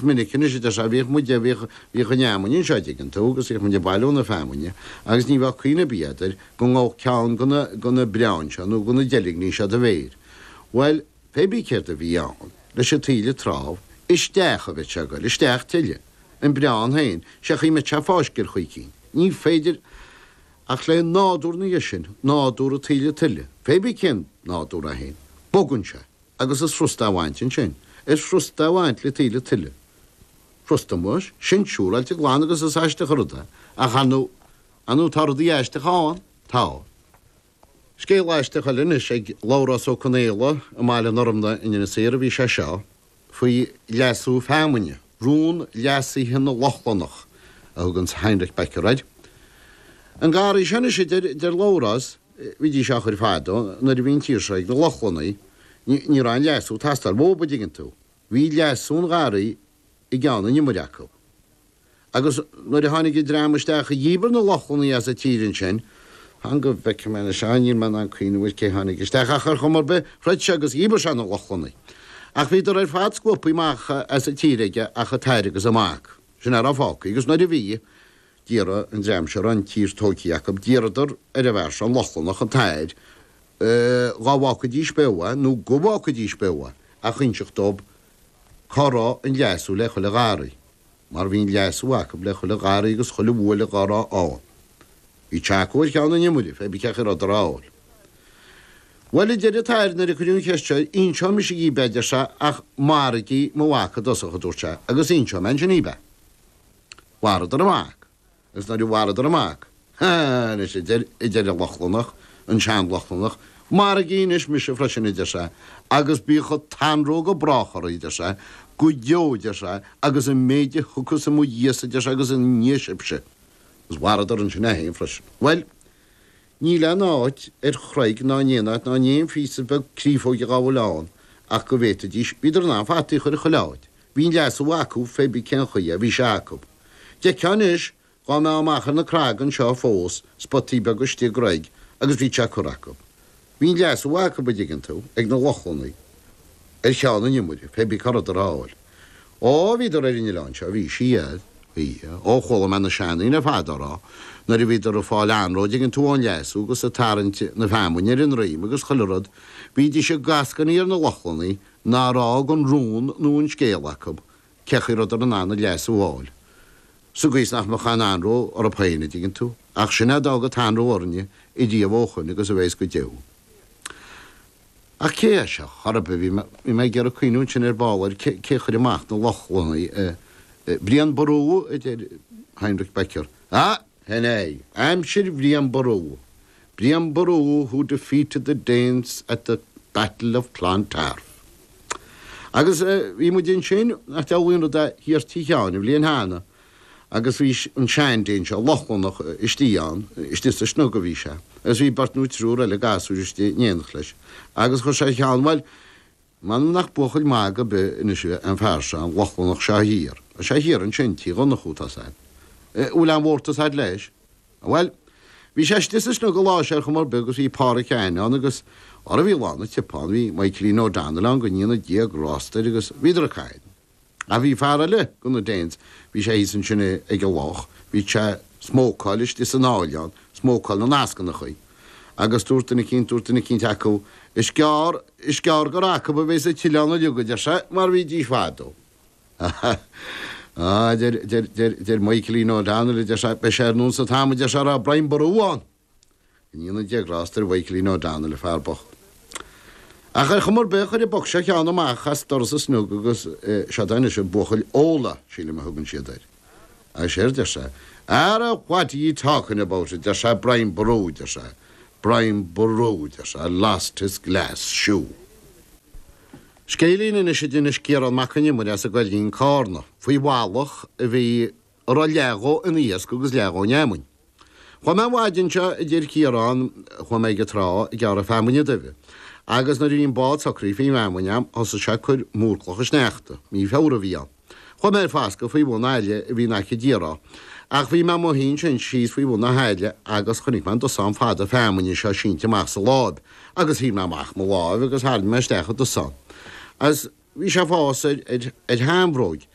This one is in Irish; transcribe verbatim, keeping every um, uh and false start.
minic anois a deir sé, bhíodh muide, bhíodh, bhíodh an fheamainn anseo a' dtuigeann tú agus bhíodh muid ag bailiú na feamainne agus ní bheadh cuimhne ar bith a'd air go ngabhadh ceann de na, de na breáin seo nó de na deilgní seo do mhéir. Bhuel, pé bí céard a bhí ann, leis an taoille trámh, isteach a bheadh sé ag goil, isteach tuilleadh. An breán féin, sé chaoi mbeadh sé fáiscthe ar choícín. Ní féidir ach le nádúr na dhe sin, nádúr an taoille tuile, pé bí cén nádúr é féin, bogann sé. Agus is furasta a bhaint ansin. Is furasta a bhaint le taoille tuile. Furasta muis, sin siúráilte glan agus is aisteach an rud é. Ach ar ndóigh, ar ndóigh tá rudaí aisteacha ann. Tá. Scéal aisteach eile anois ag Labhrás Ó Conaola i mBaile na Gormna in Inis Oírr a bhí sé seo, faoi leasú feamainne, rún leasaithe na Lochlannach a thuganns Heinrich Becker air. An garraí seo anois a deir, deir Labhrás, bhídís á chur fadó nuair a bhí an tír seo ag na Lochlannaigh, ní, ní raibh aon leasú ag teastáil uathu, an dtuigeann tú. Bhí leasú an gharraí i gceann an iomaire acu. Agus nuair a tháinig an dream isteach a dhíbir na Lochlannaigh as an tír ansin, fan go bhfeicfidh mé anois, á, níl mé in ann cuimhneamh ar cé tháinig isteach ach ar chuma ar bith, throid sé agus dhíbir sé na Lochlannaigh. Ach bhíodar ar fad scuabtha amach as an tír aige ach an t-athair agus an mac. Sin a raibh fágtha. Agus nuair a bhí, d'iarr an dream seo a raibh an tír tógtha acu, d'iarradar ar an bhfear seo, an Lochlannach, an t-athair, dhá bhfágfaidís beo é, nó go bhfágfaidís beo é, ach inseacht dóibh cá raibh an leasú le chuile gharraí, mar bhí an leasú acu le chuile gharraí agus chuile bhuaile dhá raibh ann. Bhí sé acu ar cheann an iomaire, fé bí cé chaoi a rabhadar á fháil. Bhuel, a deir an t-athair nuair a cuireadh an cheist seo air, inseoidh mise dhíbh é, a deir sé, ach maraígí mo mhac i dtosach, a dúirt sé, agus inseoidh mé ansin dhíbh é. Mharaíodar a mhac. Agus nuair a mharaíodar a mac, Ha! anois, a deir, a deir an Lochlannach, an sean-Lochlannach, maraígí anois mise freisin, a deir sé, agus bíodh an t-anró go brách oraibh, a deir sé, go deo, a deir sé, agus an méid a thiocfas i mo dhiaidhse, a deir sé, agus ina ndiaidh sibhse. Agus mharaíodar ansin é féin freisin. Bhuel, níl aon áit ar chreig ná in aon áit ná in aon phíosa beag créafóige dhá bhfuil ann ach go bhféadfaidís, bhíodar in ann fataí a chur i chuile áit. Bhí an leasú acu, fé bí cén chaoi é, bhí sé acu. D'fheicfeá anois dhá mbeadh amach ar na craga anseo fós, spotaí beaga istigh i gcreig agus bhí sé curtha acu. Bhí an leasú acu, a dtuigeann tú, ag na Lochlannaigh, ar cheann an iomaire, fé bí cá rabhadar á fháil. Ó, bhíodar ar an oileán seo, bhí, sea, bhí. Ó, chuala mé na seandaoine ar fad á rá, nuair a bhíodar ag fáil anró, a dtuigeann tú, ón leasú agus ag tarraingt na feamainne ar an ndroim agus chuile rud, bhídís ag gascarnaigh ar na Lochlannaigh nár fhág an rún nó an scéal acu, cé chaoi a rabhadar in ann an leasú a fháil. Sa gcaoi is nach mbeadh aon anró orthu féin, a dtuigeann tú. Ach sin é a d'fhág an t-anró orainne ariamh ó shoin agus a bheas go deo. Ach cé é seo chor ar bith? Bhí mé, bhí mé ag iarraidh cuimhniú ansin ar ball ar cé, cé chuir amach na Lochlannaigh, eh, eh, Brian Ború, a deir Heinrich Becker. Ah! Shin é. Aimsir Bhrian Ború. Brian Boru who defeated the Danes at the Battle of Clontarf. Agus bhí muid ansin, nach diabhlaí an rud é, thiar Tigh Sheáin an bhliain cheana agus bhí an sean-Dane seo, Lochlannach, istigh ann, istigh sa snug a bhí sé, agus bhí beirt nó triúr eile gasúir istigh in éineacht leis. Agus chuir sé a cheann, bhuel, m'anam nach buachaill magaidh ar bith anois é an fear seo, an Lochlannach seo thiar. Tá sé thiar ansin, Tigh Dhonnchú, tá's a'd. Bhfuil aon mhórtas a'd leis? Bhuel, bhí sé istigh sa snug an lá seo ar chuma ar bith agus bhí Páraic Aine ann agus, ara bhí lán an tsiopa ann, bhí Michaelín O'Donnell ann go ndéana Dia grásta air agus bhíodar ag caint. Ach bhí fear eile de na Danes, bhí sé thíos ansin ag an loch, bhí sé ag smócáil istigh san áiléan, smócáil na nascannachaí. Agus dúirt duine eicínt, dúirt duine eicínt acu, is gearr, is gearr gur acu a bheas an t-oileán uilig, a deir sé, mar bhídís fadó. Ah, deir, deir, deir, deir Michaelín O'Donnell, a deir sé, beidh sé ar nós an t-am a deir sé a raibh Brian Boru ann. Go ndéana Dia grásta ar Mhichaelín O'Donnell, an fear bocht. Ach ar chuma ar bith, chuir an boc seo a cheann amach as doras an snug agus seod é anois an buachaill Ola, sílim a thugann siad air. Agus séard deir sé, Ara, what are ye talking about, a deir sé, Brian Boru, a deir sé, Brian Boru, a deir sé, lost his glass shoe. Scéilín anois a d'inis Ciarán Mac Con Iomaire as an gCoillín, Cárna, faoi bhallach a bhí, a raibh leath dhó ina iasc agus leath dhó in fheamainn. Chuaigh mé an mhaidin seo, a deir Ciarán, chuaigh mé ag an trá ag gearradh feamainne duibhe, agus nuair a bhí an bád socraithe faoin bhfeamainn a'm, thosaigh sé ag cur mórchlocha sneachta. Mí Feabhra a bhí ann. Chuaigh mé ar foscadh faoi bhun aille a bhí in aice d'iarrá. Ach bhí mé amuigh ansin síos faoi bhun na haille agus chonaic mé an dosán fada feamainne seo sínte amach sa láib agus shín mé amach mo láimh agus tharraing mé isteach an dosán. Agus bhí sé ag fás ar, ar, ar sheanbhróig.